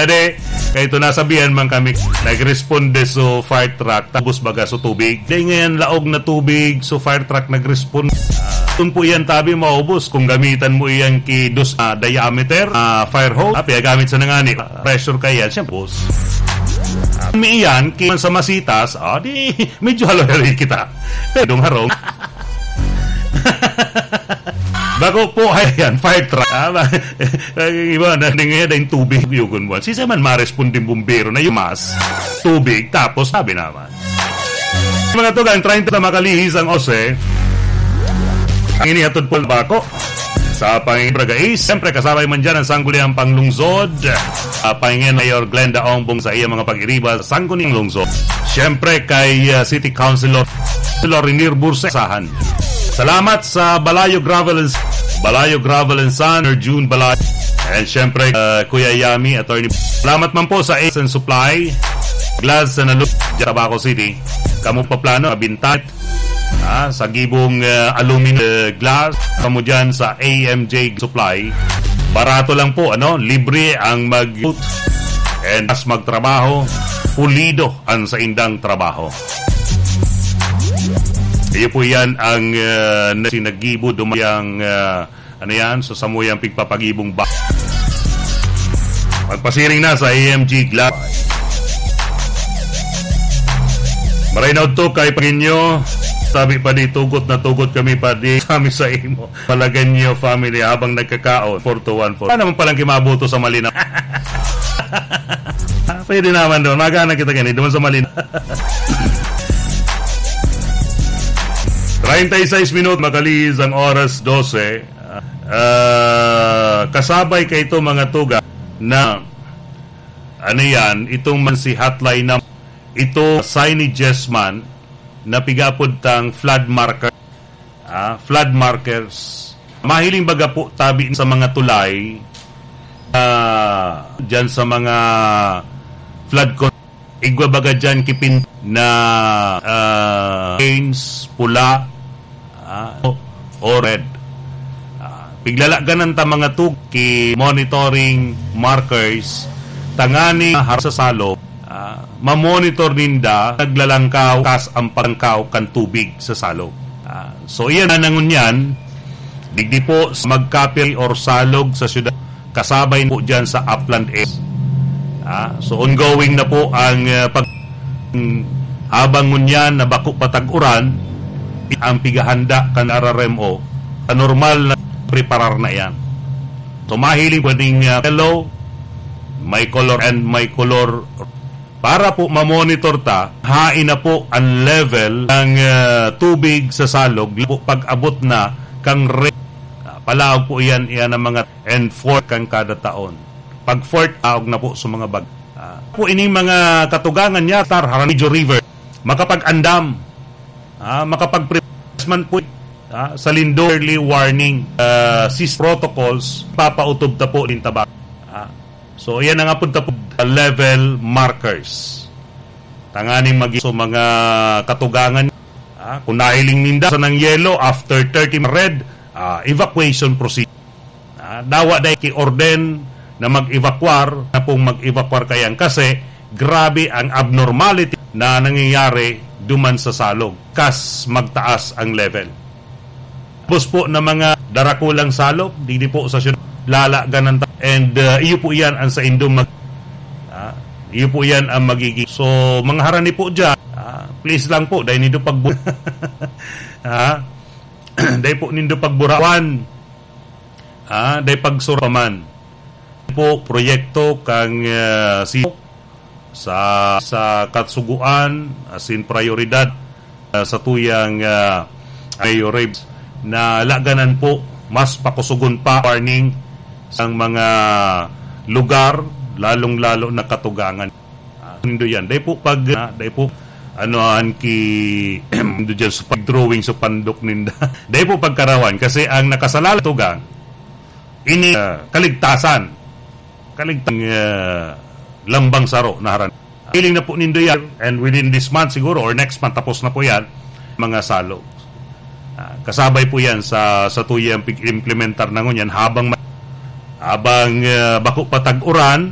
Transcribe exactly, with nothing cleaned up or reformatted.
Kaya ito, nasabihan man kami, nagresponde so fire truck, tapos baga so tubig. Di ngayon laog na tubig, so fire truck nagresponde. Kung po yan tabi maubos, kung gamitan mo iyan ki dos, ah, diameter, ah, fire hose, ah, piyagamit sa nangani, pressure ka yan, siyempre, boss. Ah, may iyan, ki man sa masitas, ah, di, medyo halong-halong kita. Pero dong harong. Bako po, ay, yan, fire truck. Ah, ba-, ang iba, na, di ngayon, dahil tubig, yugon mo. Si man, maresponde yung bumbero na yung mas, tubig, tapos, sabi naman. Mga tugang, treinta na makalihis ang ose. Ang inihatod po bako sa Panginoon Bragais. Siyempre, kasabay man dyan ang Sangguniang Panglungsod. Ah, Panginoon Mayor Glenda Ongbong sa iyang mga pag-iriba sa Sangguniang Lungsod. Siyempre, kay, ah, City Councilor, Councilor Renier Bursesahan. Salamat sa Balayo Gravel and, Balayo Gravel and Sand, Sir June Balayo. And siyempre, ah, Kuya Yami, Attorney. Salamat man po sa Ace and Supply. Glass sa Nalug, Tabaco City. Kamo pa plano, mabintat. Ah, sa gibong, ah, aluminum, ah, glass, kamo dyan sa A M J Supply. Barato lang po, ano? Libre ang mag- and mas magtrabaho, pulido ang saindang trabaho. Iyo po yan ang, ah, na-, sinagibo dumayang, ah, ano yan? So, samuyang pigpapagibong ba-, magpasiring na sa A M G Glass. Maray na udto kay Panginoon, sabi pa di, tugot na tugot kami pa di, kami sa imo. Palagan niyo, family, habang nagkakaon. Four to one four. Ano naman palang kimabuto sa Malinaw? Ah, pwede naman doon. Magana kita ganito, doon sa Malinaw. Treinta y seis minut, makalihis ang oras dose. Ah, kasabay ka ito, mga tuga, na, ano yan, itong man si hotline na ito, signages man, na pigapod tang flood marker. Ah, flood markers. Mahiling baga po tabi sa mga tulay, ah, dyan sa mga flood con-, igwa baga dyan kipin na, ah, lanes, pula, ah, o, o red. Ah, piglalagan ta mga tug-, ki monitoring markers, tangani har sa salog, ah, mamonitor ninda, naglalangkaw, kas ang pagkangkaw kan tubig sa salog. Ah, so, iyan na nangunyan, digdi po sa Magkape or Salog sa syudad, kasabay po dyan sa Upland Air. Ah, so, ongoing na po ang, ah, pag-, habang ngunyan na bako pa tag-uran, ang pighahanda kan R R M O, sa normal na preparar na yan. So, mahiling pwedeng, ah, yellow, may color and may color para po mamonitor ta, hain na po ang level ng, ah, tubig sa salog, po pag-abot na kang re-, ah, palaog po iyan, iyan ang mga and fourth kan kada taon. Pag fourth, aog na po sa mga bag-, ah, po ining mga katugangan niya, tar, Jaramillo River, makapag-andam, ah, makapag-pre-, man po, ah, sa Lindol, early warning, ah, sis protocols, papautob ta po nin tabak. Ah, so, iyan ang apod ta po, level markers. Tanganing magi-, so, mga katugangan, ah, kung nahiling ninda sa nang yellow, after thirty red, ah, evacuation procedure. Ah, dawa dai ki-orden na mag-evacuar, na pong mag-evacuar kayan kasi grabe ang abnormality na nangyayari duman sa salog, kas magtaas ang level. Tapos po na mga darakulang salog, didi po sa syudad, lalagan ng ta-, and, uh, iyo po yan ang sa indong mag-, ah, iyo po yan ang magiging. So, mga harani po dyan, ah, please lang po, dahil nindo pagbu-, ah, dahil po nindo pagburawan, ah, dahil pagsura pa man. Po, proyekto kang, ah, si sa, sa kasugoan, asin prayoridad, ah, sa tuyang, ah, Mayor Reeves, na laganan po, mas pakusugon pa, warning sa mga lugar, lalong-lalo na katugangan. Ah, nindo yan. Dai po pag, ah, dai po, ano, an ki, nindo dyan sa pag-drawing sa pandok ninda. Dai po pagkarawan, kasi ang nakasalala tugang, ini, ah, kaligtasan. Kaligtang, ah, lambang saro na haran. Feeling na po nindo yan, and within this month siguro, or next month, tapos na po yan, mga salog. Ah, kasabay po yan sa, sa tuyang pig-implementar na ngunyan, habang ma-, habang, ah, bako pa tag-uran,